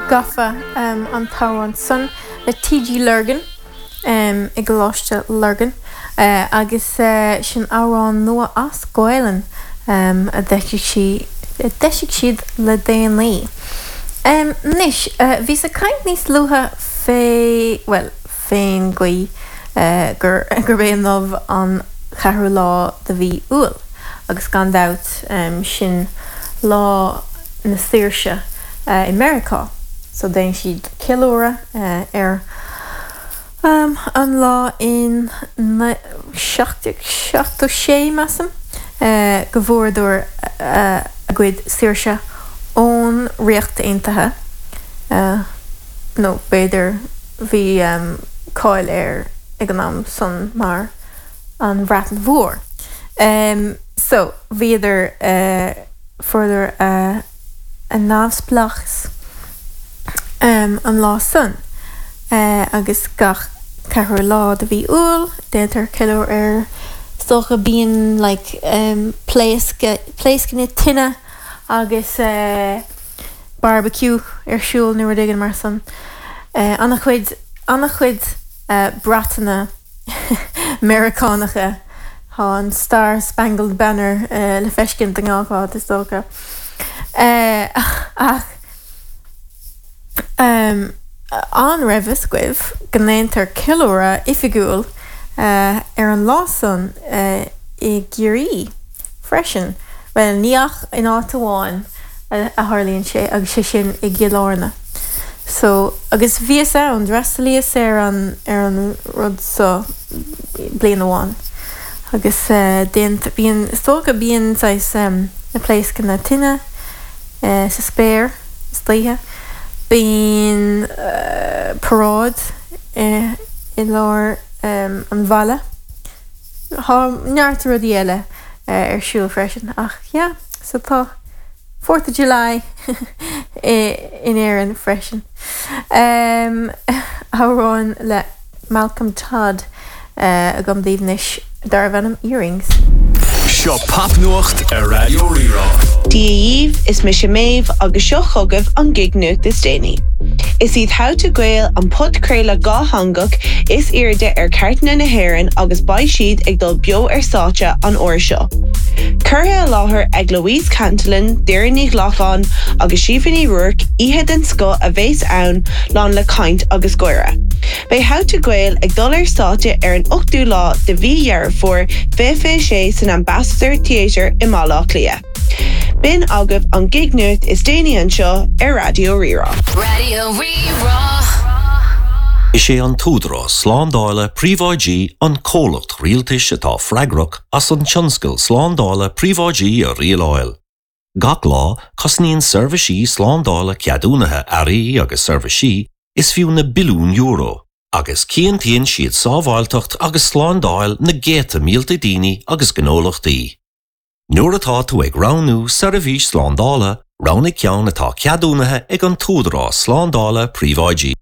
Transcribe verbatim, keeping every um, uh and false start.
Gafa um, an t-amhrán san le TG Lurgan um, i gColáiste Lurgan uh, agus uh, sin amhrán nua as Gaelainn um, a d'eisigh sí a d'eisigh siad le déanaí. Um, Anois uh, bhíos ag caint níos luaithe fé well fén gcaoi uh, gur gurb é inniu an ceathrú lá de mhí Iúil agus gan dabht um, sin lá na saoirse uh, i Meiriceá. So déanann siad ceiliúradh uh, ar um, an lá in seacht sé measaim uh, go bhfuaireadar uh, a gcuid saoirse ón Ríocht Aontaithe uh, nó b'fhéidir bhí um, cáil air ag an am san mar an Bhreatain Mhór. Um, so bhíodar uh, fuaireadar uh, a neamhspleáchas um, an lá san uh, agus gach ceathrú lá de mhí Iúil déantar ceiliúradh air so bíonn like, um, pléascanna tine agus uh, barbecue ar siúl nó rud éigin mar san. Uh, an-chuid an-chuid uh, bratanna Meiriceánacha Tá an Star Spangled Banner uh, le feiscint i ngach áit is dócha. Uh, ach um, an raibh fhios agaibh go ndéantar ceiliúradh oifigiúil uh, ar an lá san uh, i gCiarraí freisin, Well ní ach in áit amháin a, a tharlaíonn sé agus sé sin i gCill Airne. So agus bhíos ann d'fhreastalaíos ar an ar an rud so bliain amháin. agus uh, bíonn stócha bíonn um, na pléascanna tine uh, sa spéir istoíche. Bíonn uh, paráid uh, i lár um, an bhaile. Tá neart rudaí eile uh, ar siúl freisin ach yeah, so tá Fourth of July in Éirinn freisin. Um, amhrán le Malcolm Todd uh, agam daoibh anois darb ainm Earrings. Seo popnuacht ar Raidió Rí-Rá. Dia dhaoibh is mise Méabh agus seo chugaibh an gig-nuacht is déanaí. Is iad How to Gael an podchraoladh dátheangach is airde ar chairteanna na hÉireann agus beidh siad ag dul beo ar stáitse an uair seo. Curtha i láthair ag Louise Cantillon, Doireann Ní Ghlacáin agus Síomha Ní Ruairc oíche den scoth a bheas ann lán le caint agus gáire. Beidh How to Gael ag dul ar stáitse ar an ochtú lá de mhí Dheireadh Fómhair fiche fiche sé san Ambassador Theatre i mBaile Átha Cliath. B'in agaibh an gig-nuacht is déanaí anseo ar Raidió Rí-Rá. Raidió Rí-Rá. Is é an tÚdarás Slándála Príobháidí an comhlacht rialtais atá freagrach as an tionscal slándála príobháidí a rialáil. Gach lá cosnaíonn seirbhísí slándála ceadúnaithe earraí agus seirbhísí is fiú na billiúin euro, agus cinntíonn siad sábháilteacht agus slándáil na gcéadta mílte daoine agus gnólachtaí. Nuair atá tú ag roghnú seirbhís slándála, roghnaigh ceann atá ceadúnaithe ag an tÚdarás Slándála Príobháidí.